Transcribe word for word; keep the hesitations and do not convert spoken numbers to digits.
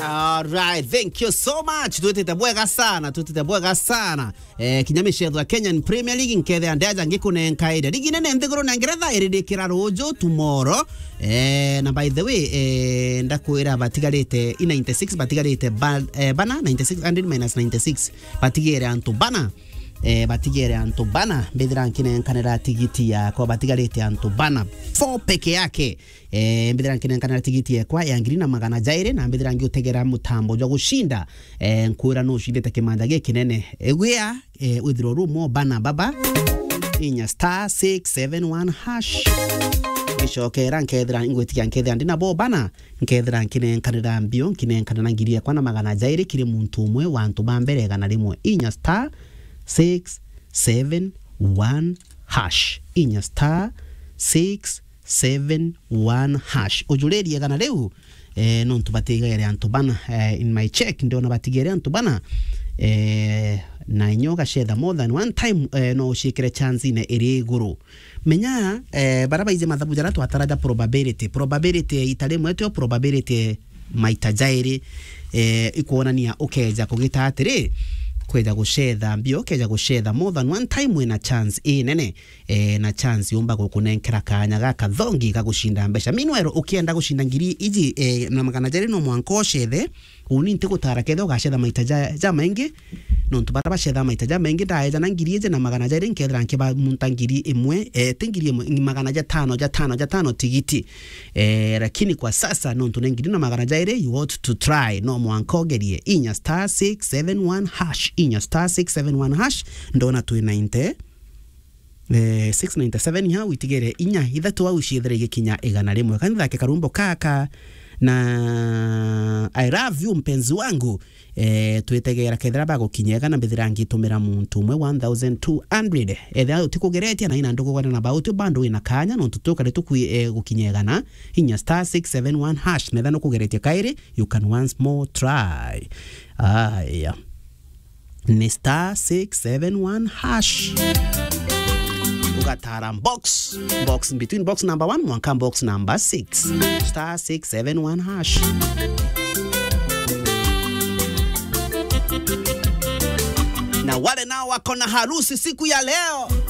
Alright, thank you so much. Twitite bwega sana, twitite bwega sana. Eh, kinya micetho ya Kenyan Premier League, nkethea ndeja ngikunenkaire. Ligi nene nthiguru na Ngeretha iririkira ruju, tomorrow. Eh, na by the way, eh, ndakwira batigarite i ninety-six, batigarite ba-, eh, bana, ninety-six, hundred minus ninety-six. Batigere antu bana. Eh, batigere antu bana. Mbithira nkinenkanira tigiti yakwa, batigarite antu bana. Four peke yake. Eh, mbithira nkinenkanira tigiti ekwa ya ngiri na magana jairi, na mbithira ngiutegera mutambo jwa gucinda. Eh, nkwira nucindite kimanja gikinene. Egwia, eh, withirwa ru mo bana baba. Inya star six seven one hash. Ngicokera nkethira ngwitikia nkethira ndi nabo bana. Nkethira nkinenkanira mbio, nkinenkanira ngiri ekwa na magana jairi kiri muntu umwe wa antu ba mbere igana rimwe. Inya star six seven one hash. Inya star six seven one hash. Ujuririe igana riu, eh, nontu batigere antu bana, eh, in my check, ndiona batigere antu bana, eh, na inya ugacetha more than one time, eh, no uciikire chance-ine iri iguru. Menya, eh, bara baize mathabu jara twatara ja probability. Probability ita rimwe tio probability maita jairi, eh, ikwonania ukeja kugita atiri, kweja gucetha mbio, ukeja gucetha more than one time wina chance inene, eh, na chance yumba gukunenkera kanya gakathongi ga gucinda mbeca. Meanwhile, ukienda gucinda ngiri iji, eh, na magana jairi no mwanka ucethe, uni ntigutara kethira ugacetha maita ja, ja maingi, nontu bara bacetha maita ja maingi, ndaeja na ngiri iji na magana jairi nkethira nkiba munta ngiri imwe, eh, ti ngiri imwe, magana jatano, jatano, jatano tigiti. Eh, lakini kwa sasa, nontu ni ngiri na magana jairi, you want to try, no mwanka ugerie. Inya star six seven one hash, inya star six seven one hash, ndona twi ninety, eh, six ninety-seven ha, witigere inya, ithatu au ciethire igikinya igana rimwe. Kanithake karumbo kaka, na I love you, mpenzi wangu. Eh, twitegera kethira bagukinya igana, mbithira ngitumira muntu umwe one thousand two hundred. Ethira utikugeretie na ina ndukugana na bauti, bado wina kanya, nontu tukare tukwi, eh, gukinya igana. Inya star six seven one hash, netha nukugeretie kairi, you can once more try. Aya. Ni star six seven one hash. Ugatara box, box between box number one mwanka box number six. Star six seven one hash. Na wale nao wako na harusi siku ya leo,